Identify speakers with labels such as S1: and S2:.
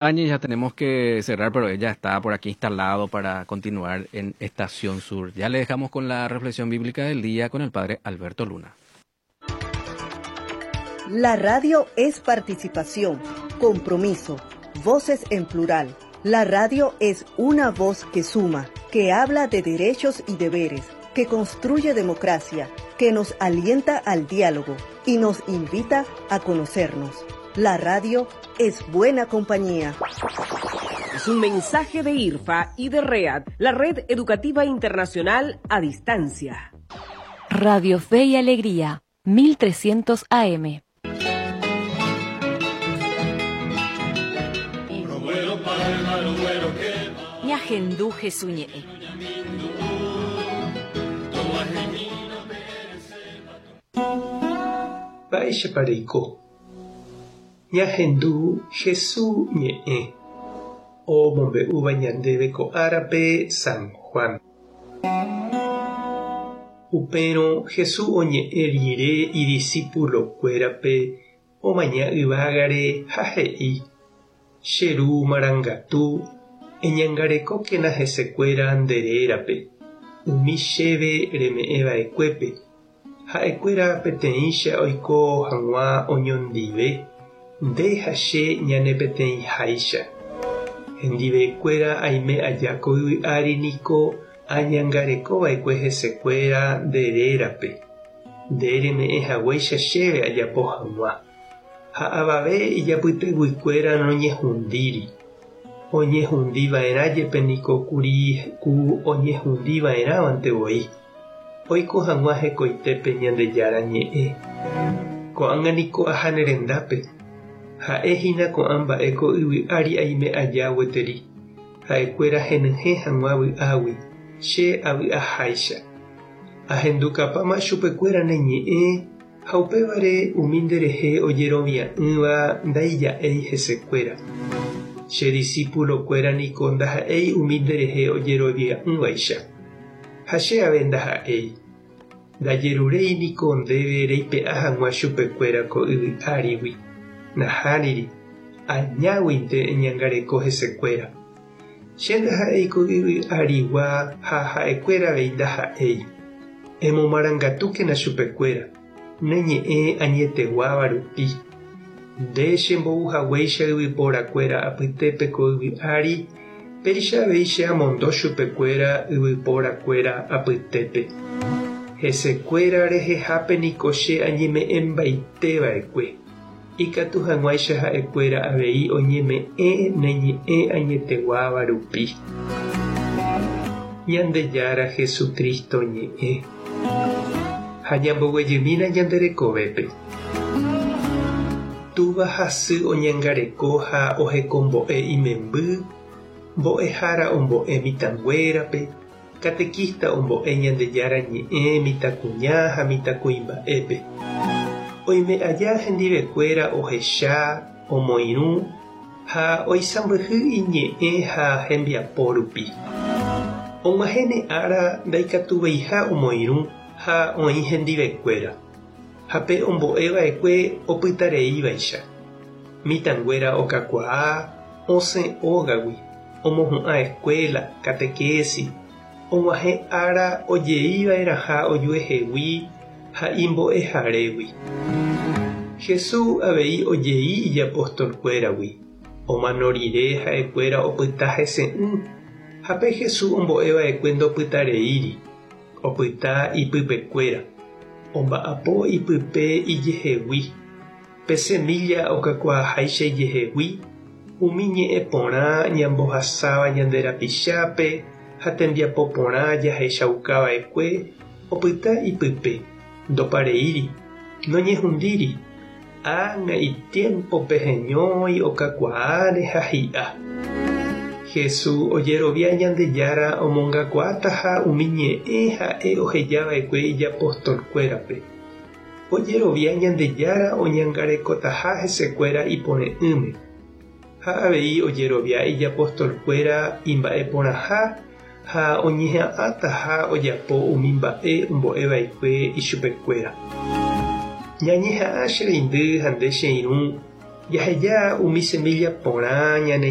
S1: Ya tenemos que cerrar, pero ella está por aquí instalado para continuar en Estación Sur. Ya le dejamos con la reflexión bíblica del día con el padre Alberto Luna.
S2: La radio es participación, compromiso, voces en plural. La radio es una voz que suma, que habla de derechos y deberes, que construye democracia, que nos alienta al diálogo y nos invita a conocernos. La radio es buena compañía.
S3: Es un mensaje de IRFA y de READ, la Red Educativa Internacional a Distancia.
S4: Radio Fe y Alegría, 1300 AM.
S5: Ñahendu Jesús ñe'ẽ.
S6: Mba'éichapa reiko? Ñahendu Hesu ñe'ẽ omombe'úva ñandéve ko árape San Juan. Upérõ Hesu oñe'ẽ rire idisípulokuérape omaña yvágare ha he'i, Che Ru marangatu, eñangarekókena hesekuéra nde rérape, umi chéve reme'ẽ va'ekuépe, Ha'ekuéra peteĩcha oiko hag̃ua oñondive, nde ha che ñane peteĩháicha. Hendivekuéra aime aja ko yvy ári niko añangareko va'ekue hesekuéra nde rérape, nde reme'ẽ haguéicha chéve ajapo hag̃ua. Ha avave ijapyteguikuéra noñehundíri. Oñehundi va'erã jepe niko kuri ku oñehundi va'erãvante voi. Oiko hag̃ua hekoitépe Ñandejára Ñe'ẽ. Ko'ág̃a niko aha ne rendápe. Ha'e hína ko'ã mba'e ko yvy ári aime aja gueteri, ha'ekuéra henyhẽ hag̃ua vy'águi, che avy'aháicha. Ahendukapáma chupekuéra ne ñe'ẽ ha upévare umi nderehe ojerovia'ỹva ndaija'éi hesekuéra. Che disípulokuéra niko ndaha'éi umi nderehe ojerovia'ỹvaicha. Ha che ave ndaha'éi. Ndajeruréi niko ndéve reipe'a hag̃ua chupekuéra ko yvy árigui. Nahániri, añáguinte eñangareko hesekuéra. Che ndaha'éi ko yvy arigua ha ha'ekuéra avei ndaha'éi. Emomarangatúkena chupekuéra, ne ñe'ẽ añeteguáva rupi. Nde chembou haguéicha yvyporakuéra apytépe ko yvy ári, péicha avei che amondo chupekuéra yvyporakuéra apytépe. Hesekuéra rehehápe niko che añeme'ẽmbaite va'ekue, ikatu hag̃uáicha ha'ekuéra avei oñeme'ẽ ne ñe'ẽ añeteguáva rupi. Ñandejára Jesucristo ñe'ẽ. Ha ñamboguejymína ñande rekovépe. Túva ha sy oñangareko ha ohekombo'e imemby, mbo'ehára ombo'e mitãnguérape, katekísta ombo'e Ñandejára Ñe'ẽ mitãkuña ha mitãkuimba'épe. Oime aja hendivekuéra ohecha, omoirũ ha oisãmbyhy iñe'ẽ ha hembiapo rupi. Og̃uahẽne ára ndaikatuveiha omoirũ ha oĩ hendivekuéra. Ha pe ombo'e va'ekue opytareívaicha. Mitãnguéra okakuaa, osẽ ógagui, omohu'ã eskuéla, katekési, og̃uahẽ ára ojei va'erãha ojuehegui ha imbo'eharégui. Jesús avei ojei ijapostolkuéragui, omano rire ha'ekuéra opyta hese'ỹ, ha pe Jesús ombo'e va'ekue ndopytareíri. Opyta ipypekuéra, omba'apo ipype ijehegui, pe semílla okakuaaháicha ijehegui, umi ñe'ẽ porã ñambohasáva ñande rapichápe ha tembiapo porã jahechaukava'ekue opyta ipype, ndopareíri, noñehundíri, Ág̃a itiémpope heñói okakuaáre ha hi'a. Jesús ojerovia Ñandejára omongakuaátaha umi ñe'ẽ ha'e oheja va'ekue ijapostolkuérape. Ojerovia Ñandejára oñangarekotaha hesekuéra ipore'ỹme. Ha avei ojerovia ijapostolkuéra imba'eporãha ha oñeha'ãtaha ojapo umi mba'e ombo'e va'ekue ichupekuéra. Ñañeha'ã che reindy ha nde che irũ Jaheja umi semilla porã ñane.